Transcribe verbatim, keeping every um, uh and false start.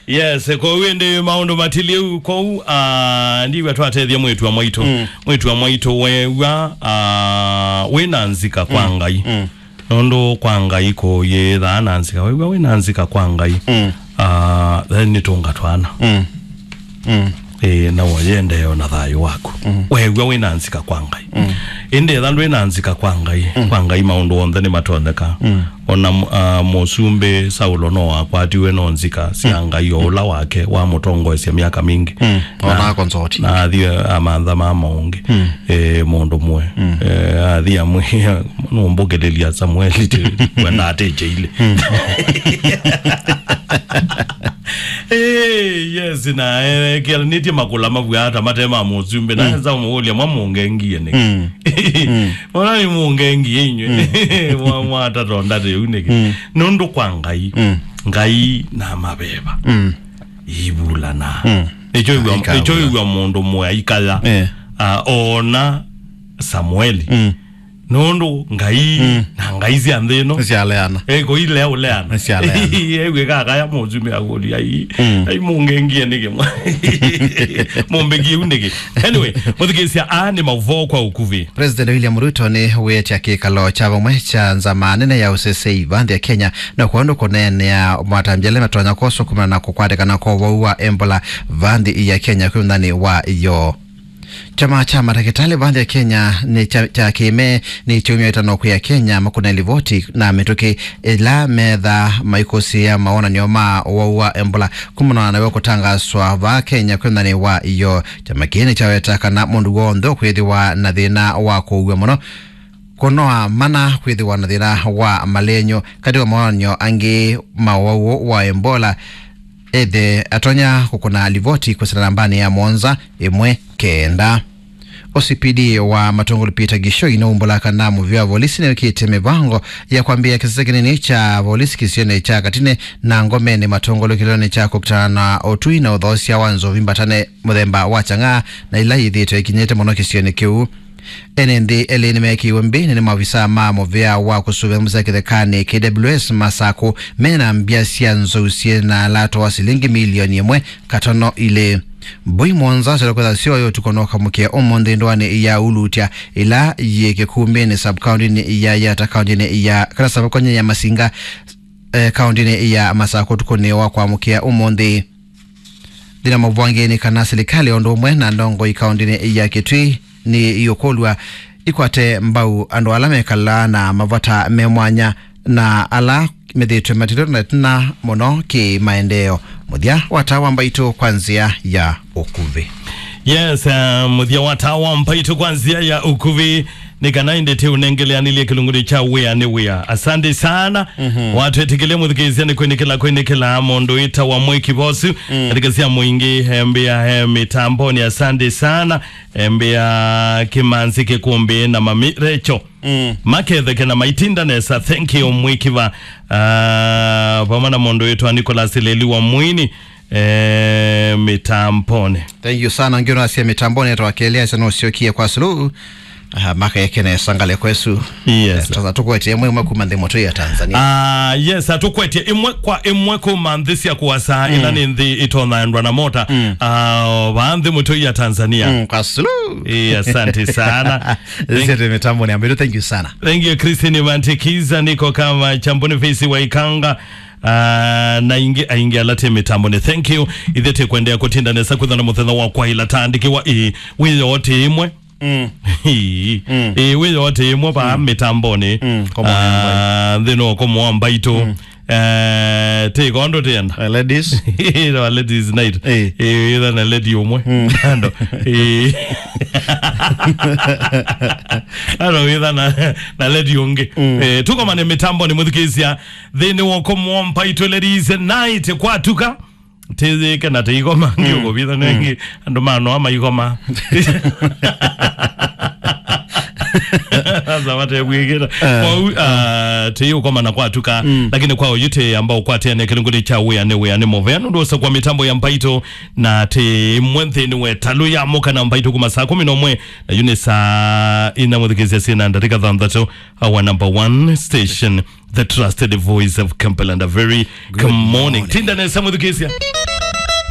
Yes, kwoou ĩndĩ maũndũ matiliu kwoou, ah, ndiw'a twatethya mwĩĩtu wa mwaitũ. Mm. Mwĩĩtu wa mwaitũ weew'a, ah, wĩ na nzika kwa Ngai. Mm. Nũndũ kwa Ngai kũyĩthaa na nzika. Weew'a wĩ na nzika kwa Ngai. Mm. Ah, then nĩtũnga twana. Mm. Mm. Ĩĩ, na ũyendee o na thayũ waku. Mm. Weew'a wĩ na nzika kwa Ngai. Mm. Ĩndĩ etha ndwĩ na nzika kwa Ngai, mm, kwa Ngai maũndũ onthe nĩmatonyeka. Mm. O na mu-, ah, mũsumbĩ Saulo no akwatiwe no nzika sya, mm, Ngai, o ũla wake wamũtongoesya myaka mingĩ. Mm. Na, o na akonzoti, na athi amantha ma maũngĩ. Mm. Eh, mũndũ mwe. Mm. Eh, athi amwĩa, "Nũmbũkĩlĩlya Samueli, ti kwenda atĩkyeile." Mm. Eh, yes, na, eh, ekelanĩtye makũla mavw'a ata mate ma mũsumbĩ, na, mm, nza mũũlya, "Mwa mũngengie nĩkĩ?" Mm. Mm. Ona nĩ mũngengie inyw'ĩ. Mm. Mwa, mwatatonda tĩu nĩkĩ? Mm. Nũndũ kwa Ngai, mm, Ngai na maveva. Mm. Ivulana. Mm. Nĩkyo ĩw'a, ikawa, nĩkyo ĩw'a mũndũ mwe aikaya. Eh. Ah, ona Samueli. Mm. Nũndũ Ngai, mm, na ngai sya nthĩ ĩno nĩsyaleana. Eh, kũilea ũleana. Nĩsyaleana. Ew'ĩka akaya mũsumbĩ akũlya, "Ai, mm, ai mũngengie nĩkĩ mwa-, mũmbĩkie ũu nĩkĩ?" Anyway, mũthikĩĩsya, aa nĩ maũvoo kwa ũkuvĩ. President William Ruto nĩ wĩtya kĩkalo kya vamwe kya nzama nene ya ũsesei va nthĩ ya Kenya na kwa ũndũ kũneenea matambya ala matonya kwoswa kumana na kũkwatĩkana kwa ũwau wa Ebola va nthĩ ya Kenya kwĩ ũnthani wa yo. Kyama kya matakĩtalĩ va nthĩ ya Kenya nĩ kya, kya kĩme nĩ kyaumya ĩtano kwĩ Akenya makũne livoti na mĩtũkĩ ĩla metha maikũsĩĩa mawonany'o ma ũwau wa Ebola kumana na w'o kũtangaswa va Kenya kwĩ ũnthani wa yo. Kyama kĩĩ nĩkyaweta kana mũndũ w'onthe ũkwĩthĩwa na thĩna wa kũua mũno kũnoa mana kwĩthĩwa na thĩna wa malenyũ. Katĩ wa mawonany'o angĩ ma ũwau wa Ebola, ethe atonya kũkũna livoti kwĩsĩla nambanĩ ya mũonza ĩmwe kenda. O C P D wa Matungulu Peter Gishoi nĩwaumbũla kana mũvĩa wa volisi nĩwĩkĩte mĩvango ya kwambĩĩa kĩsese kĩnini kya volisi kĩsionĩ kya Katine na Ngomeni matongolyo kĩlonĩ kya kũkitana na ũtwi na ũthoosya wa nzovi mbatane mũthemba wa Chang'aa na ila yĩthĩĩtwe ĩkinyĩte mũno kĩsionĩ kĩu. Ene nthĩ elĩ nĩmeekĩiwe mbĩnĩ nĩ maovisaa ma mũvĩa wa kũsũvĩa nzama sya kĩthekanĩ, K W S, Masakũ, mena mbya sya nzou syĩ na lato wa silingi milioni ĩmwe katono ilĩ. Mbũi mũonza syola kwĩtha syoyo ũtukũ no kamũkĩa ũmũnthĩ ndũanĩ ya Ulutya, ĩla yĩ Kĩkumbĩnĩ, sub-kaũntĩnĩ ya Yata, kaũntĩnĩ ya, kana sub-kaũntĩnĩ ya Masinga, eh, kaũntĩnĩ ya Masakũ ũtukũnĩ wa kwamũkĩa ũmũnthĩ. Nthĩ na maũvoo angĩ nĩ kana silikalĩ o ũndũ ũmwe na ndongoi kaũntĩnĩ ya Kitui nĩ iũkũlw'a ikwate mbau andũ ala mekalaa na mavata me mwanya na ala methĩĩtwe matilĩtwe na ĩtina mũno kĩ-maendeeo. Mũthya wa taa wa mbaitũ kwa nzĩa ya ũkuvĩ. Yes, uh, mũthya wa taa wa mbaitũ kwa nzĩa ya ũkuvĩ. Nĩ kana ĩndĩ tĩ ũnengeleanĩlye kĩlungunĩ kya wĩa nĩ wĩa. Asante sana. Mhm. Watwĩtĩkĩlye mũthikĩĩsya nĩ kwĩnĩkĩla, kwĩnĩkĩla mũndũ wĩtawa Mwĩki Vosu. Mm. Katika sia mũingĩ, embĩa, eh, mĩtamboni. Asante sana. Embĩa Kĩmanzi Kĩkũmbĩ na Mami Recho. Mm. Maketheke na maitinda nesa. Thank you, Mwĩkiva. Ah, vamwe na mũndũ wĩtawa Nicholas Leli wa Mwini. Eh, mĩtamboni. Thank you sana. Ngĩ ũnasya mĩtamboni etwa Kelly asya nũsyokie kwa Suluhu. Ah, makeke nesa ngalĩko ĩsu. Yes. Eh, tũkwetye ĩmwe ĩmwe kuma nthĩ mũtũi ya Tanzania. Ah, yes, atũkwetye ĩmwe kwa ĩmwe kuma nthĩ sya kũasa, mm, ĩla nĩ nthĩ ĩtonyaendwa na mota. Mm. Ah, vaa nthĩ mũtũi ya Tanzania. Mm, kwa Suluhu. Eh, asante sana. Thank- Zete mĩtamboni ambĩtu, thank you sana. Thank you, Christine Mantekiza, niko kama Chamboni Face wa Ikanga. Ah, na ingĩ aingĩ ala tĩ mĩtamboni. Thank you. Ithe tĩ kwendeea kũtinda nesa kwĩthana mũthenya wa kwaĩla tandĩkĩwa ĩ wĩyo tĩ ĩmwe. Mm. Ĩ, mm, ĩ, wĩyo tĩ ĩmwe vaa, mm, mĩtamboni. Mm, komo wa mbaitũ. Ah, nthĩnĩ wa komo wa mbaitũ. Mm. Eh, tĩ kondo tĩenda. Eh, ladies. Ĩno ladies night. Eh. Ĩ, wĩtha na lady ũmwe. Mm. Ando. Ĩ. Ando wĩtha na, na lady ũngĩ. Mm. Eh, tũkomane mĩtamboni mũthikĩĩsya. Nthĩnĩ wa ũkomo wa mbaitũ, ladies night kwatuka. Tĩyĩke na tĩikoma, mm, ngiũkũvitha, mm, nengĩ andũ manoa maikoma. Sasa matekwĩkĩta. Eh. Kwau, ah, tĩyĩũkoma na kwatuka, mm, lakini kwa ũyu tĩyamba ũkwatĩane kĩlungunĩ kya wĩa nĩ wĩa nĩ mũvea nũndũ ũsa kwa mĩtambo ya mbaitũ na tĩ ĩmwe nthĩnĩ wa ĩtalũ ya mũka na mbaitũ kuma saa kũmi na ũmwe na yu nĩ saa ina mũthikĩĩsya syĩna ndatĩka thanthatũ. Our number one station. the trusted voice of Kampala, and a very good morning. Tinda nesa, mwĩthukĩĩsya.